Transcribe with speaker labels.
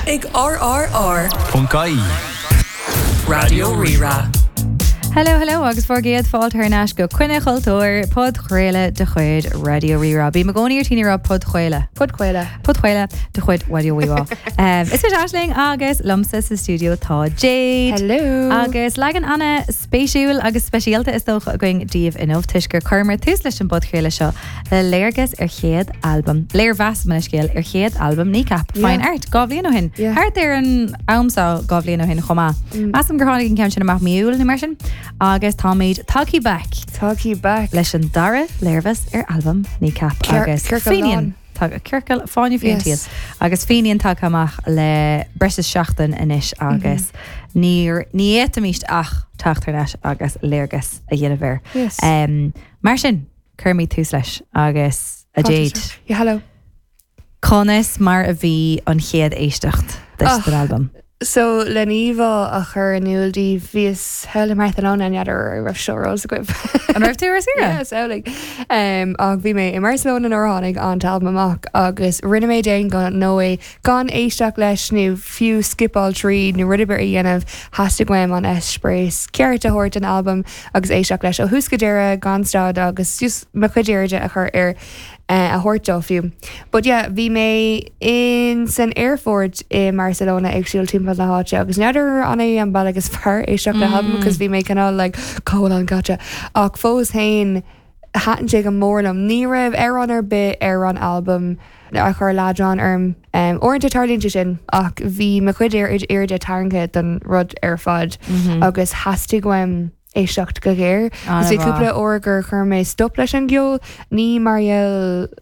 Speaker 1: Ag RRR.
Speaker 2: Ponc ie.
Speaker 1: Raidió Rí-Rá.
Speaker 3: Hello, hello agus bhur gcéad fáilte thar n-ais go Coinne Chultúir, podchraoladh de chuid Raidió Rí-Rá. Bím i gcónaí ar tí a rá podchraoladh.
Speaker 4: Podchraoladh.
Speaker 3: Podchraoladh de chuid Raidió Rí-Rá. Um, is mise Aisling agus liomsa sa stiúideo tá Jade.
Speaker 4: Hello.
Speaker 3: Agus leagan an-spéisiúil agus speisialta is dócha againn daoibh inniu toisc gur chuireamar tús leis an bpodchraoladh seo le léargas ar chéad albam, léirmheas mo leithscéal, ar chéad albam Kneecap, Fine Art, 2 bhliain ó shin. Thart ar an am seo 2 bhliain ó shin chomh maith. Measaim gur tháinig an ceann sin amach mí Iúil nó mar sin. Agus táimid tagtha back.
Speaker 4: Tagtha back.
Speaker 3: Leis an dara léirmheas ar albam Kneecap agus
Speaker 4: Fenian.
Speaker 3: Ciorcal Fáinne Fí an tSaoil. Agus Fenian tagtha amach le breis is seachtain anois agus ní ní fhéadfaimis ach teacht thar n-ais agus léargas a dhéanamh air.
Speaker 4: Yes.
Speaker 3: Mar sin, cuirimid tús leis agus a Jade.
Speaker 4: Yeah, hello.
Speaker 3: Conas mar a bhí an chéad éisteacht duit den albam?
Speaker 4: So, le íomhá a chur in iúl daoibh, bhíos thall i mBarcelona, n'fheadar an raibh seo ar eolas agaibh.
Speaker 3: An raibh tú ar saoire?
Speaker 4: Yeah, samhlaigh. Um, ach bhí mé i mBarcelona nuair a tháinig an t-albam amach agus rinne mé d'aon ghnó é gan éisteacht leis nó fiú scipeáil tríd nó rud ar bith a dhéanamh, theastaigh uaim an eispéireas ceart a thabhairt don albam agus éisteacht leis ó thús go deireadh gan stad agus just mo chuid airde a chur air a thabhairt dó fiú. But yeah, bhí mé in san aerfort i mBarcelona ag siúl timpeall na háite agus n'fheadar an é an bealach is fearr éisteacht le halbam cos bhí mé cineál like cá bhfuil an caite ach fós féin thaitin sé go mór liom. Ní raibh amhrán ar bith ar an albam a chuir leadrán orm. Um, uaireanta tarlaíonn sé sin ach bhí mo chuid airde tarraingthe don rud ar fad agus theastaigh uaim éisteacht go géar. Agus bhí cúpla uair gur chuir mé stop leis an gceol, ní mar gheall.